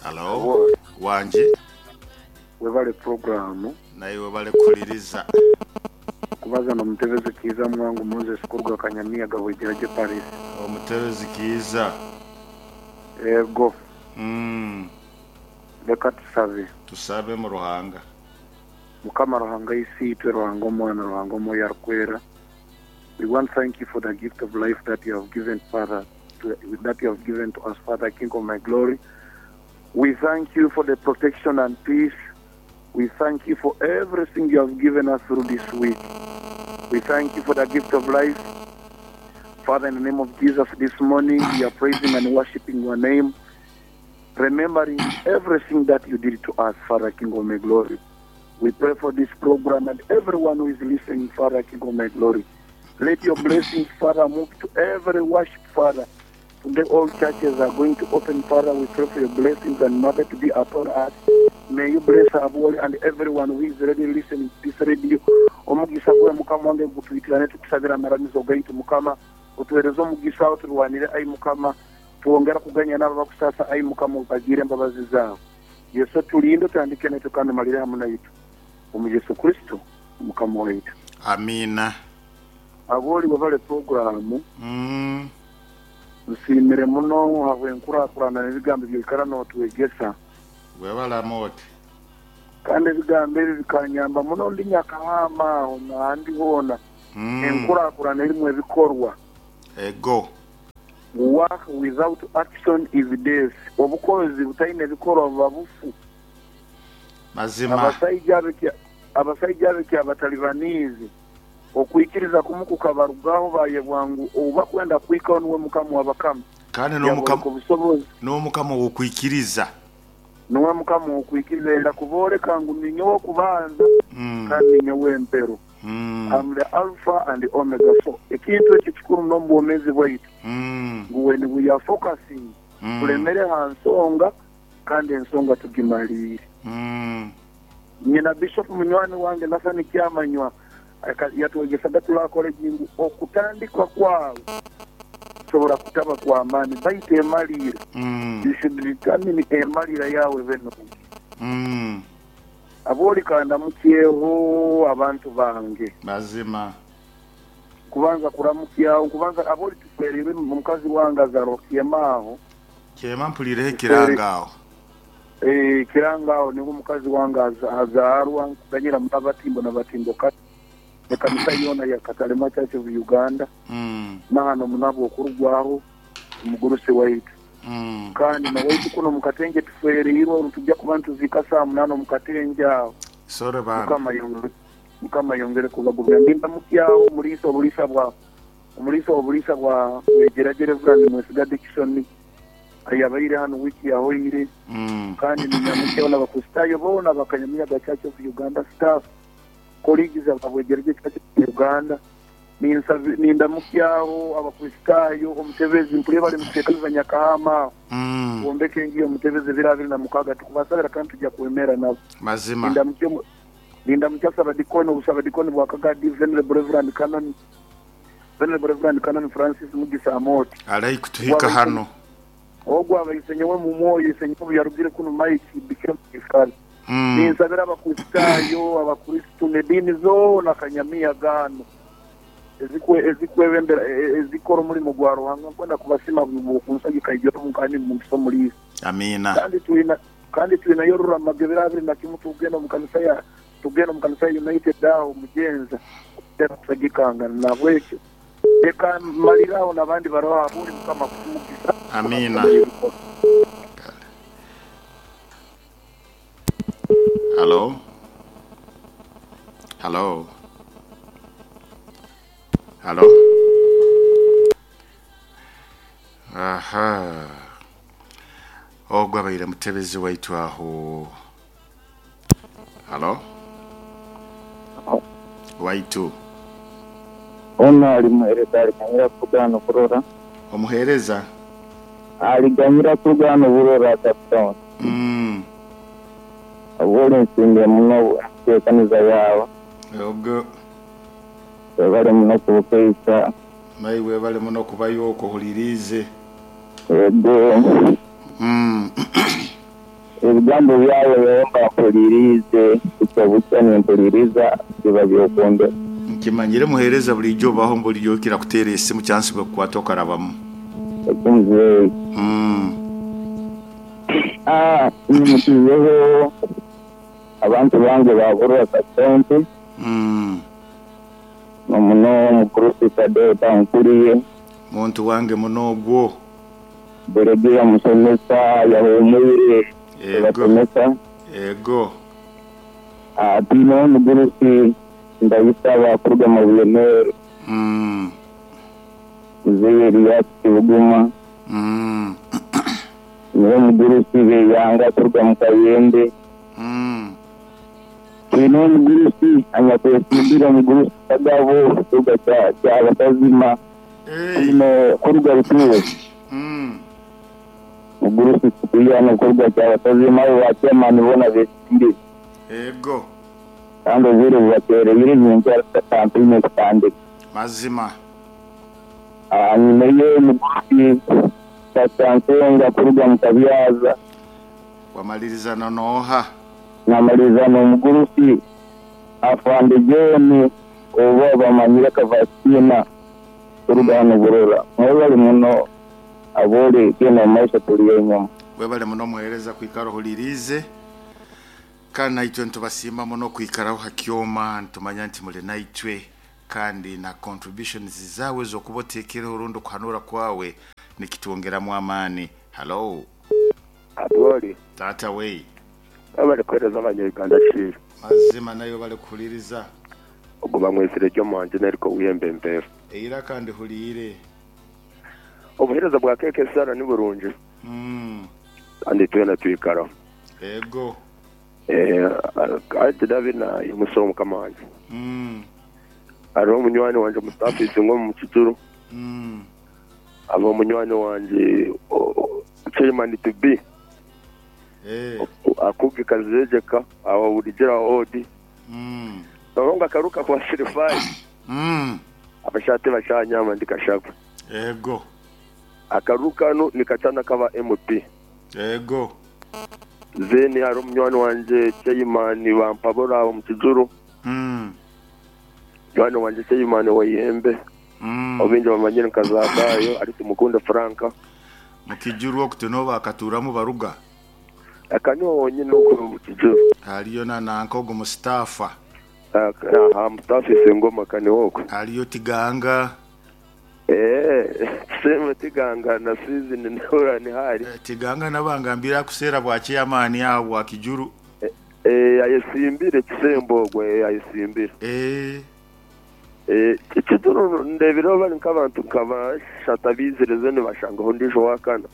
Halo, wangi. Webale puroguramu. Naiwe webale kuhuliriza. Kubaza n'omutebezi Kiiza Mwangu Moses kuruga Kanyamiyaga Bwegyeragye Parish. Omutebezi Kiiza. Ego. Leka tusabe. Tusabe mu Ruhanga. Mukama Ruhanga Isiitwe, Ruhanga Omwana, Ruhanga Omwoyo Arikwera, we want thank you for the gift of life that you have given Father, to, that you have given to us Father, King of my glory. We thank you for the protection and peace. We thank you for everything you have given us through this week. We thank you for the gift of life. Father, in the name of Jesus, this morning we are praising and worshiping your name, remembering everything that you did to us, Father, King of my glory. We pray for this program and everyone who is listening, Father, King of my glory. Let your blessings, Father, move to every worship, Father. Today all churches are going to open, Father. We pray for your blessings and mother to be upon us. May you bless Aboli and everyone who is ready listening to this radio. Omugisa gwe Mukama wange gutwitirane tukusabira amaramizo gaitu Mukama. Otuhereze omugisa oturwanire ai Mukama. Twongera kuganya n'abo abakusaasa ai Mukama obagirire embabazi zaawe. Yesu otulinde otandike naitwe kandi omalire hamu naitwe. Omu Yesu Kristo Mukama waitu. Amiina. Aboli webale puroguramu. Nsiimire muno ahabw'enkurakurana n'ebigambo ebi oikara nootwegyesa. Webale Amooti. Kandi ebigambo ebi bikanyamba muno ndi Nyakahama aho n'ahandi hoona. Enkurakurana erimu ebikorwa. Ego. Work without action is death. Obukozi butaine bikorwa buba bufu. Mazima. Abasaija ab'ekya Abatalibaniizi okwikiriza kumu kukabarugaho baayebwa ngu ou bakwenda kuhikaho niwe Mukama wa bakama. Kandi Yabooreka obusobozi. n'Omukama ow'okwikiriza. Niwe Mukama ow'okwikiriza. Ayenda kubooreka ngu niinye ow'okubanza kandi niinye ow'emperu. Am the Alpha and Omega. So ekintu ekyo kikuru muno omu bwomeezi bwaitu ngu when we are focusing tulemere ha nsonga kandi ensonga tugimaliire. Nyina Bishop munywani wange Nathan Kyamanywa yatwegesaga tuli college ngu okutandika kwawe kusobora kutaba kwa maani baitu emaliira, you should determine emaliira yawe ebe nungi. Aboli ka ndamukyeho abantu bange. Mazima. Nkubanza kuramukyaho, nkubanza aboli tufwereirwe omukazi wange azarwa Kyema aho. Kyema mpuliireho ekirango aho. Eeh ekirango aho niho omukazi wange azaarwa, nkuganyira muno abatimbo na batimbokazi ekanisa yoona ya Katalema Church of Uganda nahano muno ahabw'okurugwaho omugurusi waitu. Kandi na waitu kunu omu Katengye tufwereirwe oru tujja kuba nituziika saaha munaana omu Katengye aho. Sorry bambi. Mukama ayongere kubagumya. Ndindamukyaho omuliisa obuliisa bwa omuliisa obuliisa bwa Bwegyeragye Rev. Mwesiga Dickson ayabaire hanu wiiki yahoire. Kandi ninyamukyaho n'Abakristaayo boona aba Kanyamiyaga Church of Uganda staff, colleagues aba Bwegyeragye Church of Uganda. Nindamukyaho Abakristaayo, omutebezi mpurire bari omu kicweka kiza Nyakahama aho, twombeke enju y'omutebezi ebiro 26 tukubasabira kandi tujja kwemera nabo. Mazima. Nindamukya Sabadikoni, obusabadikoni bwa Kagadi, Venerable Reverend Canon, Venerable Reverend Canon Francis Mugisa Amooti. Alai kutuhika hano. Ogwo aba isenyowe mu mwoyo, isenyowe obu yarugire kunu Mike became my father. Ninsabira Abakristaayo, Abakristo n'ediini zoona kanyamiya gaano ezikwebembera, ezikora omurimo gwa Ruhanga. Nkwenda kubasiima ahabw'okunsagika igyo kandi nimumpisa omuriisa. Amiina. Kandi twina kandi twinayo Ruramaga ebiro 21 tugenda omu kanisa ya tugenda omu kanisa ya United aho Mugyenza kutera kusagikangana. Nahabwekyo leka mmalire aho n'abandi baroho ahabw'ori Mukama akuhe omugisa. Amiina. Kale. Halo? Halo? Halo? Aha. Ogwo abaire mutebezi waitu aho. Halo? Waitu. Ono ali muhereza aliganyira kugaana okurora. Omuhereza? Aliganyira kugaana oburora Captain. Obwo nsiimire muno enteekaniza yaawe. Obwo. Webale muno kubukeisa. Naiwe webale muno kubayo okwo ohuliriize. Ego. Ebigambo byawe nyowe mba mpuliriize, bukya bukya nimpuliriza biba by'okwombeka. Nkimanyire muheereza buriijo obaho buriijo okira kuteera esimu chansi bwekukwata okarabamu. Ekyo muzeeyi. Aah nyimukizeho abantu bange ba Burra sub county nomuno omugurusi Tadeyo Tankuriye. Muntu wange muno ogwo. Buregeya musomesa yahumwire Ego. ebasomesa. Ego. Twineho omugurusi Ndayisaba kuruga Mabuye-Meru. Muzeeyi Elias Kibuguma. Niwe omugurusi Beyanga kuruga mu Kayembe. Twineho omugurusi anyakwesimbire omugurusi Kagabo kuruga Kyabakazima. Twine kuruga Rutuuzo Mugurusi Sipiriano kuruga Kyabakazima abo ba chairman boona besimbire. Ego. Kandi obwire bubatereire nyenkya kampeyini ekutandika. Mazima. Nyineyo omugurusi Pastor Nsenga kuruga Mukabyaza. Wamaliriza na nooha? Namaliriza n'omugurusi Afande John oba bamanyire Kavasitina kuruga hanu Burora. Mwebale muno ab'ori genda omu maiso turi enyuma. Webale muno muhereza kwikara ohuliriize kandi naitwe nitubasiima muno kwikaraho ha kyoma nitumanya nti muri naitwe kandi na contributions zaawe ez'okuba oteekireho rundi okuhanura kwawe nikitwongeramu amaani. Hallo. Atwoli. Taata we. Webale kuhereza abanya Uganda Shiru. Mazima nayo webale kuhuliriza. Ogwo bamwesire Jomo Angineriko Wiyembe Mpeefu. Eiraka ndihuliire. Obuhereza bwa KKSR ni burungi kandi twena twikaraho. Ego. Ati David naimusa Mukama wangye. Hariho munywani wangye Mustafa Isingo omu Kicuru, hariho munywani wangye Chairman to be Akugi Kazejeka aho Buligira Odi. Noba ngu akaruka kwa Sirifai. Abashate bashanyama ndi Kashagwa. Ego. Akaruru kanu nikacana kaba MP. Ego. Then hariho munywani wangye Chairman Bampabura omu Kijuru. Munywani wangye Chairman wa Ihembe. Ou baingi bamanyire nka Zakayo ari Tumukunde Frank. Mu Kijuru oku tinoho baakatuuramu baruga? Aka niho honyine okuri omu Kijuru. Hariyo na nanka ogu Musitaafa. Aha Musitaafa Isingoma ka niho okwe. Hariyo Tiganga. Eeh Same Tiganga na season nihura niho ari. Tiganga nabangambiire akuseera bwa chairman aho bwa Kijuru. Eeh ayesimbire kisembo ogwo eeh ayesimbire. Eeh. Eeh Kijuru ndebireho bari nk'abantu nka bashatu abaizire then bashangaho ondiijo owakana.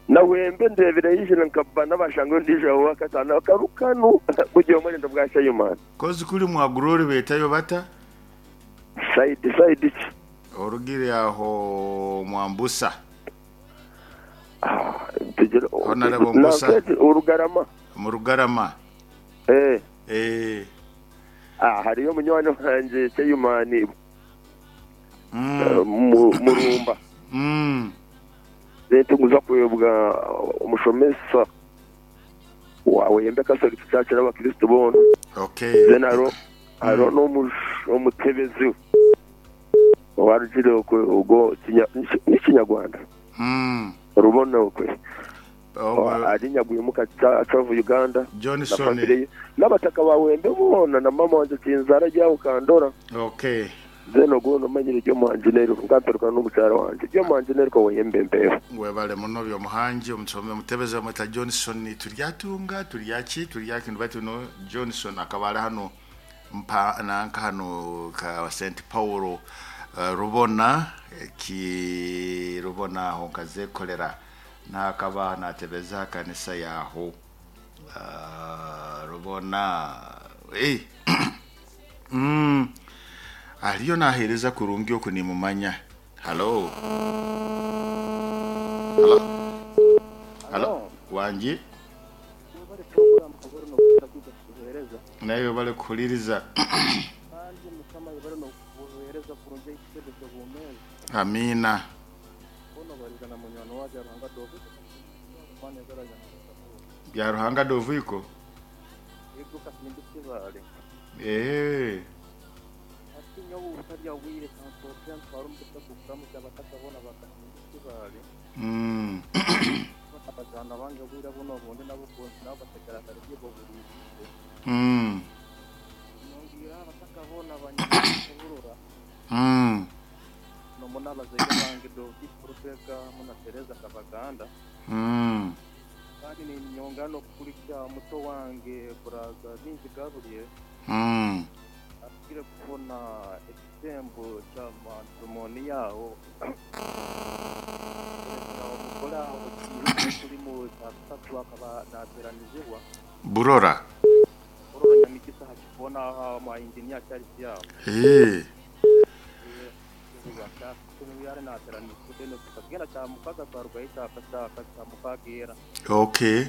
Nahwembe ndeebire yaijire nka bana bashanga ondiijo aho owakataano akaru kanu buri omwe arenda bwa chairman. Kozi kuri mwagura oribeetayo bata? Side side ki? Orugire aho Mwambusa. Honourable Mbusa. Orugarama. Omu Rugarama. Eh. Eh. Ah, hariyo munywani wangye chairman Murumba. Then tinkuza kwebwa omushomesa wa Weyembe Catholic Church n'abakristo boona. Okay. Then hariho hariho n'omutebezi owarugire okwe ogwo ni Kinyarwanda? Rubona okwe. Ari Nyagwimuka Church of Uganda na Johnson. family ye n'abataka ba Wembe boona na mama wangye Kinzara ari aho Kandora. Okay. Then ogwo nomanyire Byomuhangi Neriko nkamperuka n'omukyara wangye Byomuhangi Neriko Weyembe Mpeeho. Webale muno Byomuhangi omusomi omutebezi bamweta Johnson Turyatunga turyaki turyaki baitu no Johnson akaba ari hanu mpa nanka hanu ka St Paul Rubona ki Rubona aho nkazekolera nakaba natebeza aha kanisa yaho Rubona eh Ariyo naheereza kurungi oku nimumanya. Halo. Halo. Halo. Wangi. Webale program kabore nokuhurira kwija kutuhereza. Naiwe webale kuhuririza. Kandi mukama ayebare nokubuhereza kurungi ekitebe kyobwomezi. Amiina. Hoona obariza na munywani wagye Ruhanga Dovito Mwana ezara rya Mukasa Paul. Byaruhanga Doviko? Yego Kasimbi Kibaale. Eeh. Hati nyowe obutarya bwire kansookere ntware omugisa gw'okuramutsya abataka boona ba Kasimbi Kibaale. Boona abazaana bange obwire bunu obundi nabo nabo bategerakare gye bohuriiriize. Nyongeire aha bataka boona ba Nyamwisi Burora. Nomu n'abazaire bange Doviko Rubega hamwe na Tereza Kabaganda. Kandi ninyongera n'okukurikya muto wange Brother Bingi Gabriel ahikire kufuna ekisembo kya matrimonial aho kurekera omugore aho wiiki eturimu kyakasatu akaba nateranizibwa. Burora. Burora Nyamigisa aha kikoona aho aha Engineer Charles aho. Eeh. Okay.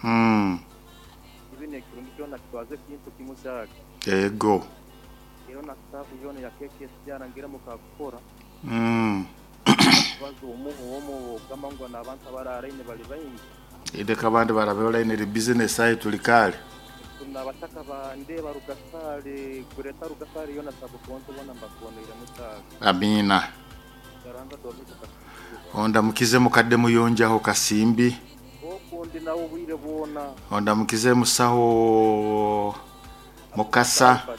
Mm. Ego. Mm. Leka abandi barabe line eri business aye tuli kale. Tuna abataka ba Ndeeba Rugasaale, Greater Rugasaale yoona Sub-County boona mbakoneiremu taaga. Amiina. Yaranga Dorika Kasimbi. Ondamukize mukadde Muyonjo aho Kasimbi. Okwo ndi nawe obwire bwona. Ondamukize musaho Mukasa.